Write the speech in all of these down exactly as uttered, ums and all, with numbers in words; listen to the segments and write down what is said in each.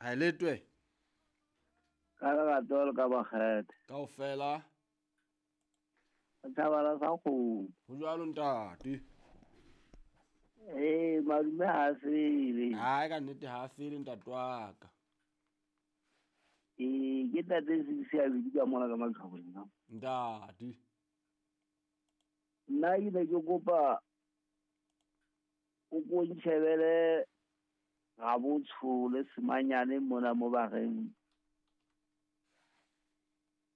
Ha letwe. Ka lerato le ka makgethe. Kaofela. Thabala sa kgomo. Ho jwalo ntate. Eh, madume ha fele. Hai ka nnete ha fele ntate wa ka. Eh, ke tate se a bidi ka mona ka Maqhabong. Ntate. Nna ke ne ke kopa o ko ntshebele ga botsho le semanyane mona mo ba reng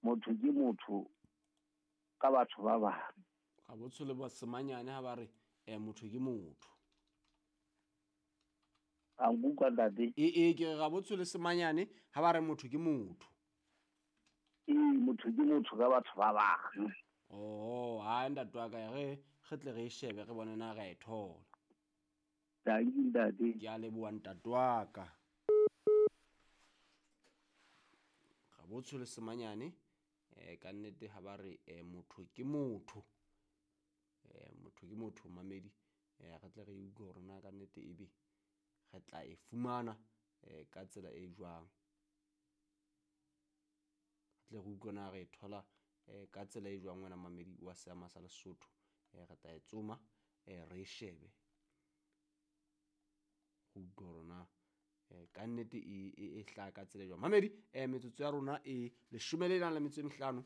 motho ke motho ka batho ba bang. Ga botsho le semanyane ha ba re eh motho ke motho. A nkutlwa ntate? E e ke ga botsho le semanyane ha ba re motho ke motho. E motho ke motho ka batho ba bang. Oh, ha ntate wa ka re re tle re shebe re bone na re e thola. Danki ntate. Ke a leboha ntate wa ka. Ga botsho le semanyane eh ka nnete ha ba re eh motho ke motho. Eh motho ke motho mamedi eh re tle re utlwe hore na ka nnete ebe re tla e fumana eh ka tsela e jwang. Re tle re utlwe na re e thola eh ka tsela e jwang wena mamedi wa seama sa Lesotho. Eh re tla e tsoma eh re shebe. Go utlwe hore na eh ka nnete e e hla ka tsela e jwang. Mamedi eh metsotso ya rona e leshome le nang le metso e mehlano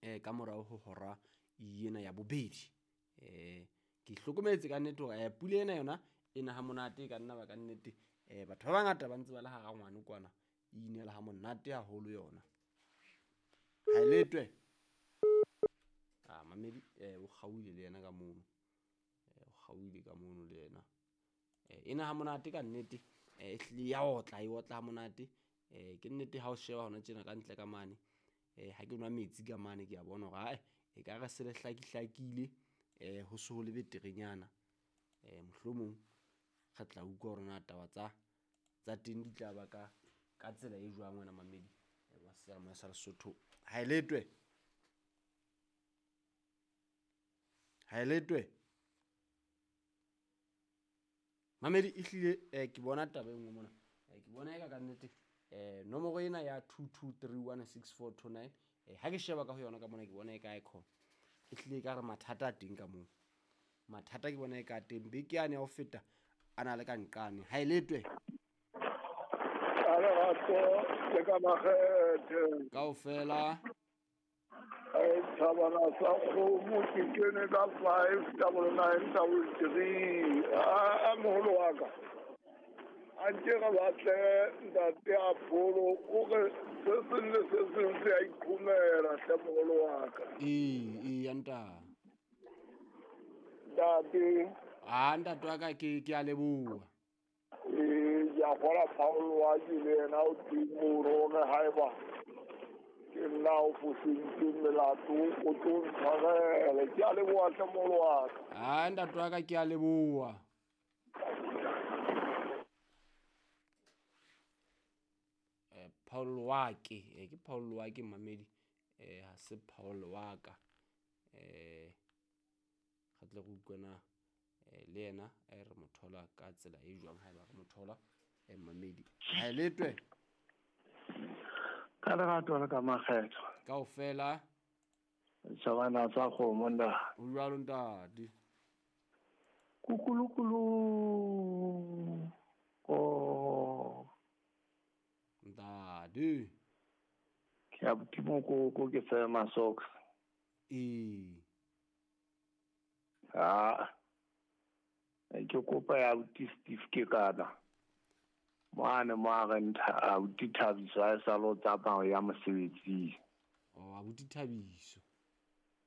eh ka morao ho hora yena ya bobedi. Eh ke hlokometse ka nnete hore eh pula ena yona e na ha monate ka nna ba ka nnete eh batho ba bangata ba ntse ba le hara ngwana kwana e inela ha monate haholo yona. Ha letwe. Ah mamedi eh o kgauile le yena ka mono. Eh o kgauile ka mono le yena. Eh ena ha monate ka nnete eh ehlile ya otla e otla ha monate. Eh ke nnete ha o sheba hona tjena ka ntle ka mane eh ha ke nwa metsi ka mane ke a bona hore ai e ka re se le hlakihlakile eh ho se ho le beterenyana. Eh mohlomong re tla utlwa hore na taba tsa tsa teng di tla ba ka ka tsela e jwang wena mamedi wa seama sa Lesotho. Ha letwe. Ha letwe. Mamedi ehlile eh ke bona taba e nngwe mona. Eh ke bona eka ka nnete eh nomoro ena ya two two three one six four two nine eh ha ke sheba ka ho yona ka mona ke bona e ka icon. Ehlile ka re mathata a teng ka moo. Mathata ke bona e ka teng beke yane ya ho feta a na le ka nqane. Ha e letwe. A lerato le ka makgethe. Kaofela. E thabana sa kgomo ke kene ka five double nine double three. A moholo wa ka. A nke re batle ntate a pholo o re se seng le se seng se a ikhumela hle moholo wa ka. Ee, ee nta. Ntate. Ah ntate wa ka ke ke a leboha. Ee, ke a kgola Paul wa ke le yena o teng moo re haeba ke nna o fositse melato o tlo ntshwarele. Ke a leboha hle moholo wa ka. Ah ntate wa ka ke a leboha. Eh Paul wa ke, eh ke Paul wa ke mamedi eh ha se Paul wa ka. Eh re tle re utlwe na le yena e re mothola ka tsela e jwang haeba re mothola e mamedi. Ha letwe. Ka lerato le ka makgetho. Kaofela. Thabana sa kgomo nda. O jwalo ntate. Kukulukulu. O ntate. Ke a botimo ko ke tsema socks. E. Ah. Ke kopa ya abuti Steve ke kana. Mane mo re ntha abuti Thabiso a sa lo tsamaya ya mosebetsing. Oh abuti Thabiso.